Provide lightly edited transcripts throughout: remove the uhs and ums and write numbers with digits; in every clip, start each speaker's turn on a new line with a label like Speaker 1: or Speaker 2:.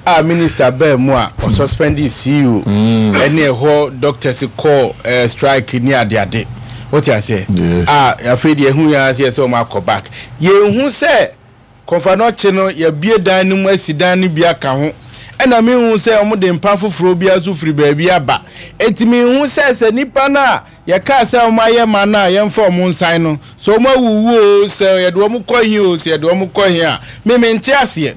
Speaker 1: A minister bɛɛ mu a ɔsuspend CEO ɛne ɛhɔ doctors kɔ strike ne adeade, wote aseɛ? A afei deɛ ɛhu yɛn aseɛ sɛ ɔmo akɔ back. Yɛnhu sɛ Komfo Anokye no yɛbie dan no mu asi dan no bi aka ho, ɛna mehu sɛ ɔmo de mpa foforɔ bi aso firi baabi aba. Eti mehu sɛ nipa no a yɛkaa sɛ ɔmo ayɛ ma no a yɛmfa ɔmo nsan no sɛ ɔmo awuwu o, sɛ yɛde ɔmo kɔ hi o, sɛ yɛde ɔmo kɔ hi a, meme nte aseɛ.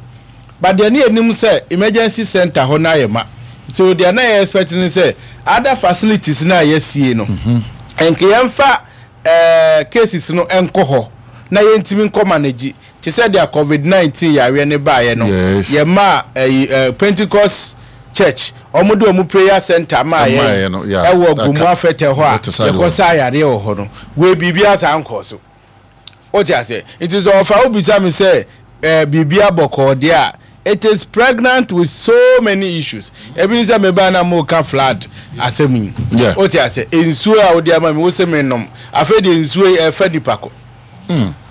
Speaker 1: But deɛ ne yɛnim sɛ emergency center hɔ no ayɛ ma, so deɛ na yɛ expect ne sɛ other facilities no a yɛasie no, nka yɛmfa cases no nkɔ hɔ na yɛntumi nkɔ manage, te sɛ deɛ COVID-19 yareɛ ne baeɛ no. Yɛma ɛyi Pentecost Church, ɔmo de ɔmo prayer center maa yɛn ɛwɔ Gomu Afɛtɛ hɔ a yɛkɔ sa yareɛ wɔ hɔ no. Wei biribi asa nkɔ so, wote aseɛ? Nti sɛ ɔfa wobisa me sɛ biribi abɔkɔɔ deɛ a, it is pregnant with so many issues. Ebi sɛ meba na mo ka flood asɛm yi, wote aseɛ? Nsuo a wode ama mi, wo sɛ me nom, afei deɛ nsuo yi ɛfɛ nipa kɔ.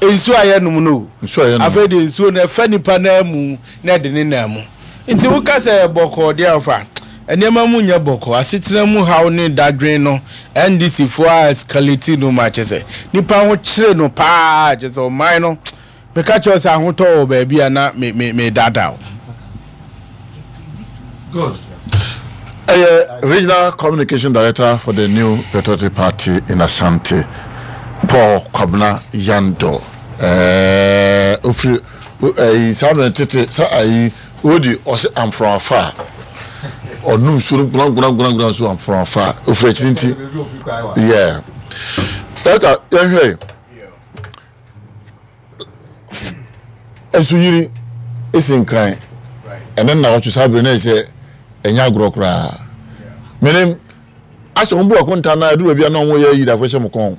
Speaker 1: Nsuo a yɛnom no, afei deɛ nsuo no ɛfɛ nipa nan mu na ɛde ne nan mu. Nti woka sɛ bɔkɔɔ deɛ, ɔfa nneɛma mu nyɛ bɔkɔɔ. Asetena mu haw ne dadwen no, NDC foɔ a escalate no ma kyɛ sɛ nipa ho kyerɛ no paa, kyɛ sɛ ɔman no meka kyerɛ sɛ ahotɔ wɔ baabi a na me me me dada o.
Speaker 2: Good. Ɛyɛ Regional Communication Director for the New Patriotic Party in Ashanti, Paul Kwabena Yando. Ofiri ɛyi saa mmerɛ tete sa ayi odi ɔsɛ amfrafa a ɔnum nsuo no gbona nso amfrafa ofiri akyiri nti yɛ ɛta yɛnhwɛ nsuyiri esi Nkran ɛne nna saa bere na ɛsɛ ɛnyɛ agorɔ koraa. Menim asɛ wɔn bu akonta na ɛduru baabi a na wɔn yɛ yi da akɔhyɛ mo kɔn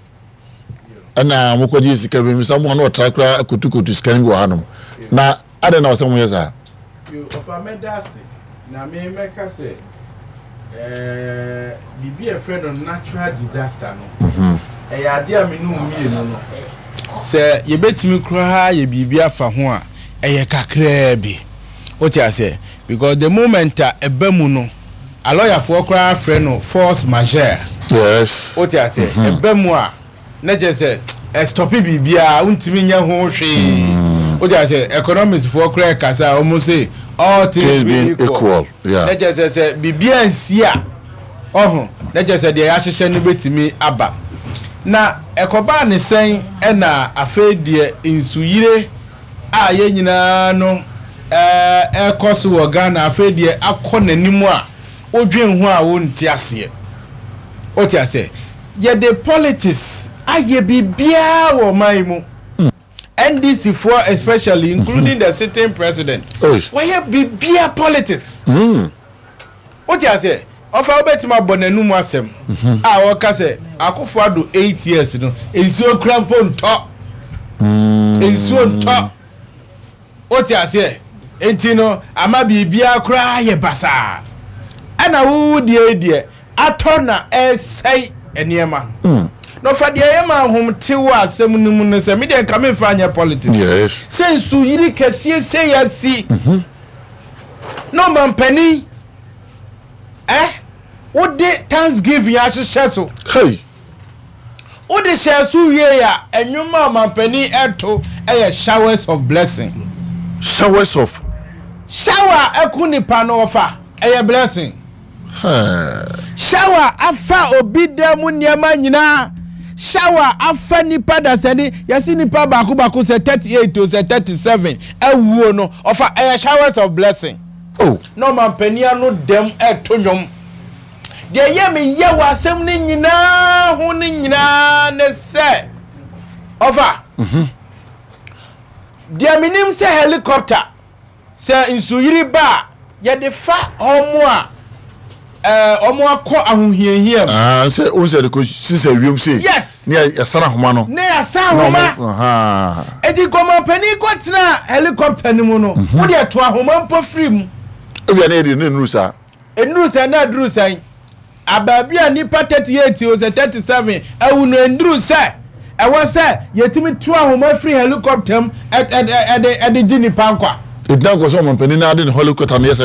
Speaker 2: ɛna mo kɔgye sika bi misa mo ano ɔtra koraa kotukotu sika no bi wɔ hanom na adɛn na ɔsɛ mo yɛ saa?
Speaker 1: Ɔfa, mɛda ase na me mɛka sɛ biribi a ɛfrɛ no natural disaster no, ɛyɛ adeɛ a me ne wo mmienu no sɛ yɛbɛtumi koraa yɛ biribi afa ho a, ɛyɛ kakraa bi, wote aseɛ? Because the moment a ɛba mu no, alɔyafoɔ koraa frɛ no force majeure. Wote aseɛ? Ɛba mu a, na kyerɛ sɛ ɛstop biribiara, wontumi nyɛ ho hwee, wote aseɛ? Economics foɔ koraa kasa a, wɔn se all things being equal, na kyerɛ sɛ biribiara nsi a ɔho, na kyerɛ sɛ deɛ yɛahyehyɛ no bɛtumi aba. Na ɛkɔbaa ne sɛn ɛna afei deɛ nsuyire a yɛn nyinaa no ɛrekɔ so wɔ Ghana, afei deɛ akɔ n'anim a wodwen ho a wonte aseɛ, wote aseɛ? Yɛde politics ayɛ biribiara wɔ ɔman yi mu. NDC foɔ especially, including the sitting president, wɔyɛ biribiara politics, wote aseɛ? Ɔfa wobɛtumi abɔ n'anum asɛm a wɔka sɛ Akufo Addo 8 years no, nsuo kura mpo ntɔ, nsuo ntɔ, wote aseɛ? Nti no ama biribiara koraa yɛ basaa. Ɛna wowu deɛ deɛ atɔ na ɛsɛe nneɛma na ɔfa deɛ ɛyɛ ma ahom te wɔ asɛm no mu no sɛ medeɛ nka memfa nyɛ politics sɛ nsuyiri kɛseɛ sɛ yɛasi na ɔmampanin ɛ wode thanksgiving ahyehyɛ so.
Speaker 2: Hey.
Speaker 1: Wode hyɛ so wie a, ɛnwom a ɔmampanin ɛto ɛyɛ "Showers of Blessing".
Speaker 2: Showers of
Speaker 1: Shower ɛko nipa no, ɔfa ɛyɛ blessing. Shower afa obi dan mu nneɛma nyinaa, shower afa nipa dasani, yɛsi nipa baako baako sɛ 38 o sɛ 37 awuo no, ɔfa ɛyɛ showers of blessing.
Speaker 2: Oh.
Speaker 1: Na ɔmampanin ano dɛm ɛto nnwom deɛ ɛyɛ me yɛ wɔ asɛm no nyinaa ho no nyinaa ne sɛ, ɔfa deɛ menim sɛ helicopter sɛ nsuyiri ba a, yɛde fa ɔmo a ɔmo akɔ ahohiahia mu.
Speaker 2: Ah, sɛ o sɛ de ko sisɛ wiem se. Ne yɛsan ahoma no.
Speaker 1: Ne yɛsan ahoma. Eti kɔmɔpanin kɔ tena helicopter no mu no, wo deɛ to ahoma mpo firi mu.
Speaker 2: Ebi a ne yɛ de ne nuru saa.
Speaker 1: Nnuru sɛn na aduru sɛn abaabi a nipa 38 o sɛ 37 awu no, nduru sɛ ɛwɔ sɛ yɛtumi to ahoma firi helicopter mu ɛde gye nipa nkwa.
Speaker 2: Egyina nkɔ sɛ ɔmampanin na ade ne helicopter no yɛ sɛ.